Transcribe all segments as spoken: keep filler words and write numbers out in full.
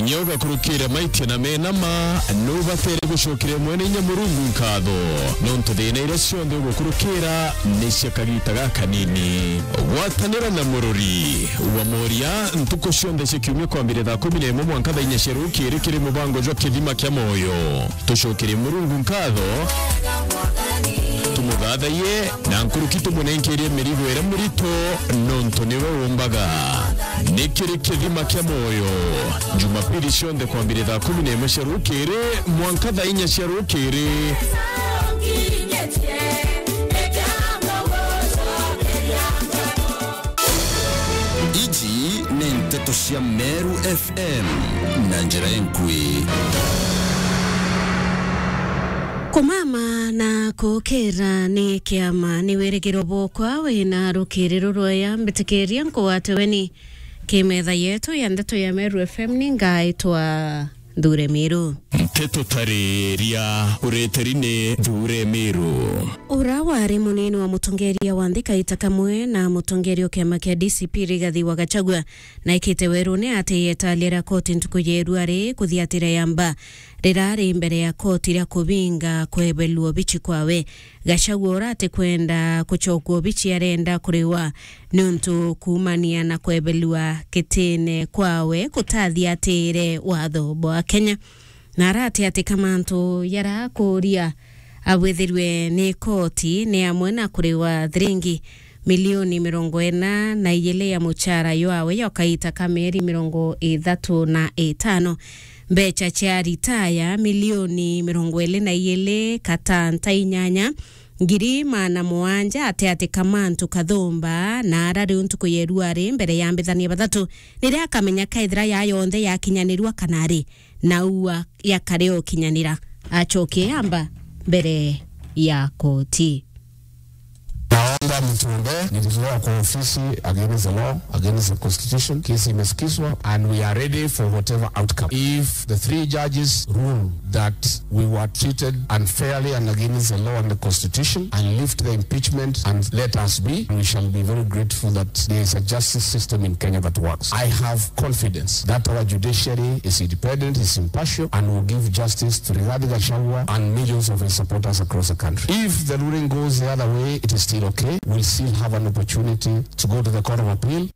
Kinya ugakurukira maitia na mena ma, nubatere gucokeria Mwene Inya Murungu nkatho, nontu thina iria cionthe ugukurukira ni cia kagita gakanini. Gwatanira na murori wa Moria ntuku cionthe cia kiumia kwambiria thaa kumi na imwe mwanka thaa inya cia rukiri kiri mubango jwa Kithima kia Moyo. Tucokerie Murungu nkatho, tumuthathaiye, na nkuruki tumunenkerie mirigo iria mirito, nontu niwe umbaga. Ni kiri Kithima kia Moyo, Jumapili cionthe kwambiria thaa kumi na imwe cia rukiri mwanka thaa inya cia rukiri. Iji ni nteto cia Meru F M na njira inkui. Kumama na kukira ni kiama, ni wirigiro bwokwa wina rukiri rurwaya, mbitikiria nkugwate weni ki metha yetu ya ndeto ya Meru F M, ni ngaitwa Nthure Miru. Nteto tariria ureteri ni Nthure Miru. Ura wari munini wa mutongeria wa nthi kaita kamwe na mutongeria o kiama kia D C P Rigathi wa Gachagua naikite werune ati yetalia ria koti ntuku ya irua ri kuthiatira yamba rirari mbere ya koti ria kubinga kwebelua obici kwawe. Gachagua ura atikwenda kucokua obici arenda kuriwa niuntu kuumania na kwebelua kitine kwawe kutathiatire watho bwa Kenya. Na arati ati kamantu yarakuria abwithirwe ni koti ni amwe na kuriwa thiringi milioni mirongo ina na ijiri ya muchara jwawe jwa kaita ka mieri mirongo ithatu na itano, mbecha cia ritaya milioni mirongo iri na ijiri katanta inyanya ngiri maana mugwanja, ati ati kamantu kathumba na ara riu ntuku ya irua ri mbere ya mbithania bathatu niria akamenya kaithira ya yonthe yakinyanirua kana ri na ua yakare ukinyanira, acoke amba mbere ya koti. Naomba mtuombee, nilitolewa kwa ofisi against the law, against the constitution. Kesi imesikizwa and we are ready for whatever outcome. If the three judges rule that we were treated unfairly and against the law and the constitution and lift the impeachment and let us be, we shall be very grateful that there is a justice system in Kenya that works. I have confidence that our judiciary is independent, is impartial, and will give justice to Rigathi Gachagua and millions of his supporters across the country. If the ruling goes the other way, it is still okay. We'll still have an opportunity to go to the Court of Appeal.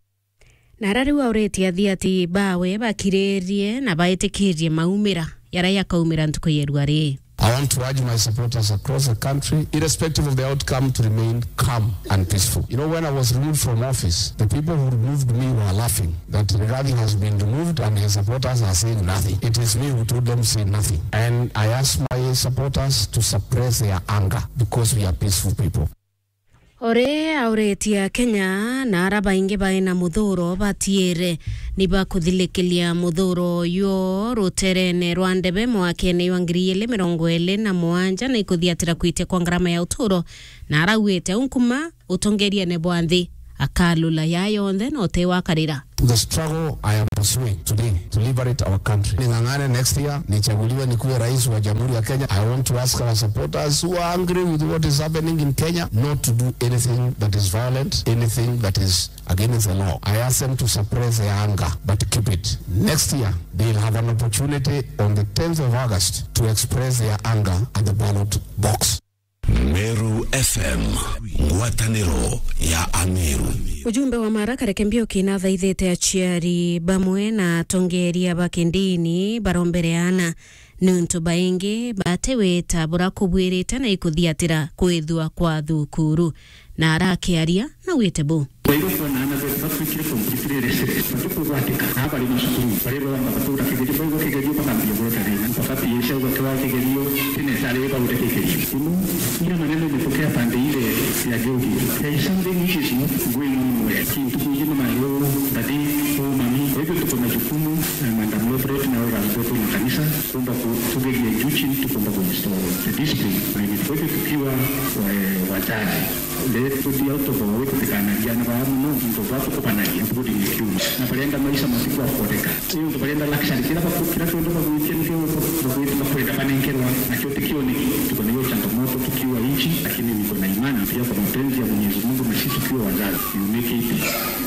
Na ara riu auritie athiati bawe bakiririe na baitikirie maumira jaria jakaumira ntuku ya irua ri. I want to urge my supporters across the country, irrespective of the outcome, to remain calm and peaceful. You know, when I was removed from office, the people who removed me were laughing that Rigathi has been removed and his supporters are saying nothing. It is me who told them to say nothing. And I ask my supporters to suppress their anger because we are peaceful people. Ore auritie Akenya na ara baingi baina muthuro batiire ni bakuthilikiria muthuro uyu ruterene rwa ndebe mwakene jwa ngiri ijiri mirongo iri na mugwanja na ikuthiatira kwitia kwa ngarama ya uturo, na araugite au nkuma utongeriene bwa nthi akalula ya yonthe na uti wakarira. The struggle I am pursuing today to liberate our country. Ning'ang'ane next year, nichaguliwe nikuwe rais wa Jamhuri ya Kenya. I want to ask our supporters who are angry with what is happening in Kenya not to do anything that is violent, anything that is against the law. I ask them to suppress their anger, but keep it. Next year, they'll have an opportunity on the tenth of August to express their anger at the ballot box. Meru F M, ngwataniro ya Ameru. Ujumbe wa Mara Kareke Mbiuki nathaithite aciari bamwe na atongeria ba kindini barombere aana, niuntu baingi batiwita bura kubwirite na ikuthiatira kwithua kwa thukuru. Na arakiaria, naugite bu. Baigwa kwona aana betu batwikire completely illiterate, batikugwatika, na bari macukuru, bari baomba batura kigerio, baigwa kigerio bakambia gweta thina, bakambia cia gwatwa kigerio, tene tari baure kigerio. Ino, ira maneno imetokea pande ile ya Gilgil. There is something which is not going on well. Kintu kuingi ni mayo, daddy, oh, mami. Kwa hivyo tuko na jukumu, eh, Madam Lopret na wale watu wa kanisa, kuomba ku-, tugeria juu chini, tukuomba ku restore the discipline. Kwa hivyo tukiwa, eh, wazazi, Let to be out of our way, tutikanaria na baa muno, into bwa tukubanagia, including kiuma. Na barenda maisha matiku akoreka. Iyo ntu barenda luxury, kira baku-, kira kionthe bagwitia nikio bagwita, bakwenda banenkerwa, nakio tikio niki. Tuko na hiyo changamoto tukiwa nchi, lakini niko na imani pia kwa mapenzi ya Mwenyezi Mungu na sisi tukiwa wazazi, you make it,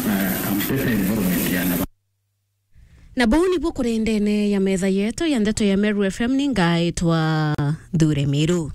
uh, a better environment ya na Na buu nibu kuri ndene ya metha yetu ya ndeto ya Meru F M, ni ngaitwa Thure Miru.